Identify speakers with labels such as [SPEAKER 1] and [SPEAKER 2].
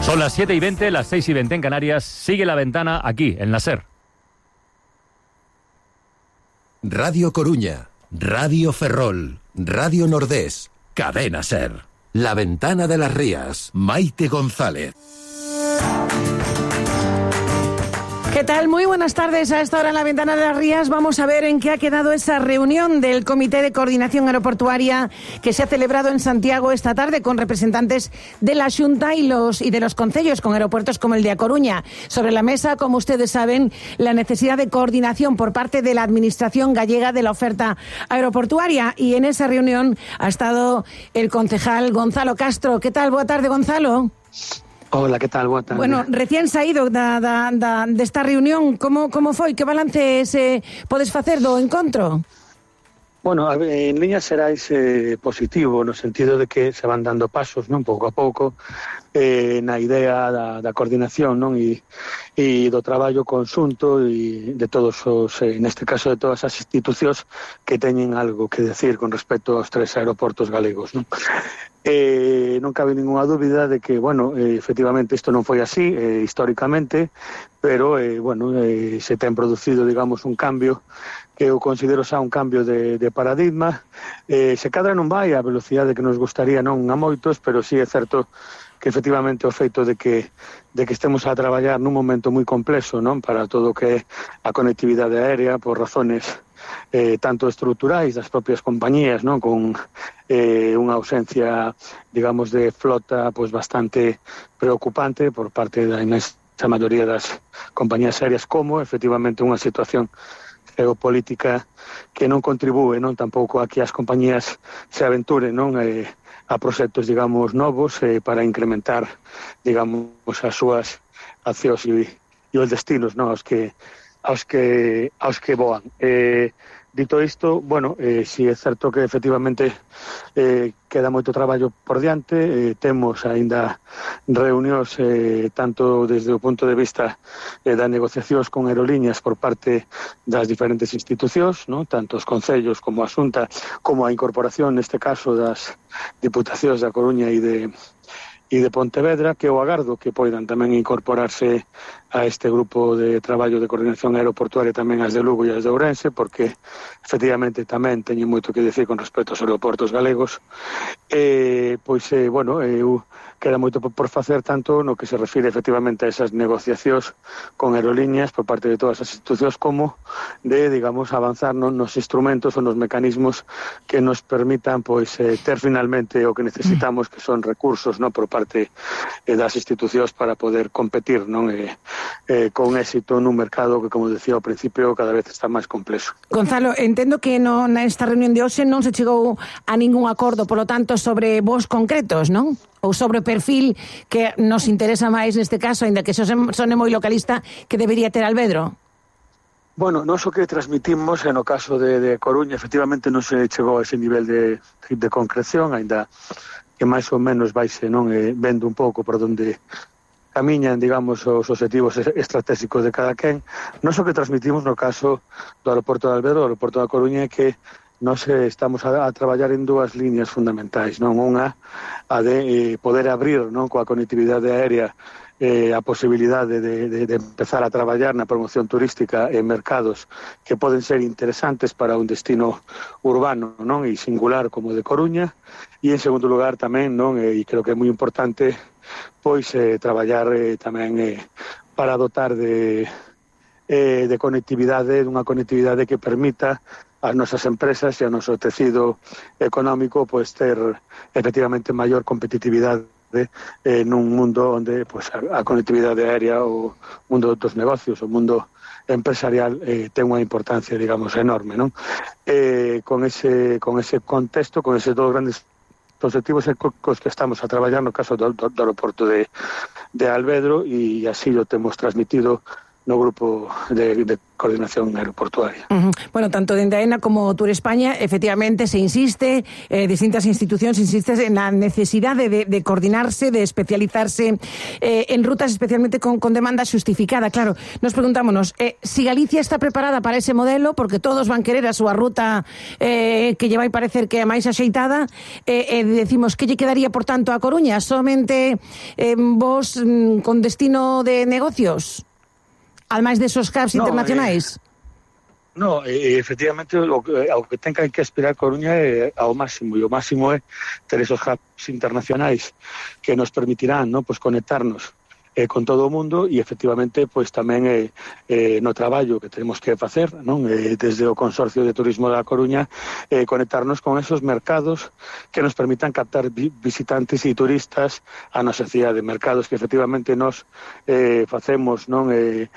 [SPEAKER 1] Son las 7:20, las 6:20 en Canarias. Sigue La Ventana aquí, en la SER.
[SPEAKER 2] Radio Coruña, Radio Ferrol, Radio Nordés, Cadena SER. La Ventana de las Rías, Maite González.
[SPEAKER 3] ¿Qué tal? Muy buenas tardes. A esta hora en La Ventana de las Rías vamos a ver en qué ha quedado esa reunión del Comité de Coordinación Aeroportuaria que se ha celebrado en Santiago esta tarde con representantes de la Xunta y de los concellos con aeropuertos como el de A Coruña. Sobre la mesa, como ustedes saben, la necesidad de coordinación por parte de la Administración gallega de la oferta aeroportuaria, y en esa reunión ha estado el concejal Gonzalo Castro. ¿Qué tal? Boa tarde, Gonzalo.
[SPEAKER 4] Hola, que tal? Boa tarde.
[SPEAKER 3] Bueno, recién saído desta reunión, como foi? Que balance podes facer do encontro?
[SPEAKER 4] Bueno, en líneas xerais positivo, no sentido de que se van dando pasos, non, pouco a pouco, na idea da coordinación, non, e do traballo conxunto e de todos os, neste caso, de todas as institucións que teñen algo que decir con respecto aos 3 aeroportos galegos, non? Non cabe ninguna dúbida de que, bueno, efectivamente isto non foi así históricamente, pero, se ten producido, digamos, un cambio que eu considero xa un cambio de paradigma. Se cadra non vai a velocidade que nos gustaría, non a moitos, pero sí é certo que efectivamente o feito de que estemos a traballar nun momento moi complexo, non, para todo o que é a conectividade aérea, por razones tanto estruturais das propias compañías, non, con unha ausencia, digamos, de flota pois bastante preocupante por parte da inmensa maioría das compañías aéreas, como efectivamente unha situación geopolítica que non contribúe, non, tampouco a que as compañías se aventuren, non, a proxectos, digamos, novos para incrementar, digamos, as súas accións e os destinos, non, aos que voan. Dito isto, bueno, si é certo que efectivamente queda moito traballo por diante, temos aínda reunións tanto desde o punto de vista das negociacións con aerolíneas por parte das diferentes institucións, ¿no? Tanto os concellos como a Xunta, como a incorporación, neste caso, das diputacións da Coruña e de Pontevedra, que eu agardo que poidan tamén incorporarse a este grupo de traballo de coordinación aeroportuaria tamén as de Lugo e as de Ourense, porque efectivamente tamén teñen moito que decir con respecto aos aeroportos galegos. Eu queda moito por facer, tanto no que se refire efectivamente a esas negociacións con aerolíneas por parte de todas as institucións, como de, digamos, avanzar nos instrumentos ou nos mecanismos que nos permitan ter finalmente o que necesitamos, que son recursos, non, por parte das institucións para poder competir, non, con éxito nun mercado que, como decía ao principio, cada vez está máis complexo.
[SPEAKER 3] Gonzalo, entendo que nesta reunión de hoxe non se chegou a ningún acordo, polo tanto, sobre voos concretos, non? Ou sobre o perfil que nos interesa máis neste caso, aínda que sone moi localista, que debería ter Alvedro?
[SPEAKER 4] Bueno, nós o que transmitimos, no caso de Coruña, efectivamente non se chegou a ese nivel de concreción, aínda que máis ou menos vaise, non, vendo un pouco por onde camiñan, digamos, os objetivos estratégicos de cada quen. Nós o que transmitimos no caso do aeroporto de Alvedro, do aeroporto da Coruña, é que nós estamos a traballar en 2 líneas fundamentais, non? Unha, a de poder abrir, non, coa conectividade aérea a posibilidade de empezar a traballar na promoción turística en mercados que poden ser interesantes para un destino urbano, non, e singular como de Coruña. E en segundo lugar tamén, non, e creo que é moi importante, traballar tamén para dotar de conectividade, dunha conectividade que permita as nosas empresas e ao noso tecido económico ter efectivamente maior competitividade nun mundo onde a conectividade aérea, o mundo dos negocios, o mundo empresarial ten unha importancia, digamos, enorme, non? Con ese contexto, con eses 2 grandes objetivos cos que estamos a traballar no caso do aeroporto de Alvedro, e así o temos transmitido no grupo de coordinación aeroportuaria.
[SPEAKER 3] Bueno, tanto dende AENA como Tour España, efectivamente, se insiste, distintas institucións insisten en a necesidade de coordinarse, de especializarse en rutas especialmente con demanda xustificada. Claro, nos preguntámonos, si Galicia está preparada para ese modelo, porque todos van querer a súa ruta que lle vai parecer que é máis axeitada, decimos que lle quedaría, por tanto, a Coruña, somente vos con destino de negocios? Ademais desos hubs internacionais?
[SPEAKER 4] No, efectivamente, ao que ten que aspirar Coruña é ao máximo, e o máximo é ter esos hubs internacionais que nos permitirán, ¿no?, pues conectarnos con todo o mundo e efectivamente pois tamén no traballo que tenemos que facer, non, desde o Consorcio de Turismo da Coruña, conectarnos con esos mercados que nos permitan captar visitantes e turistas a nosa cidade, mercados que efectivamente nos facemos, non,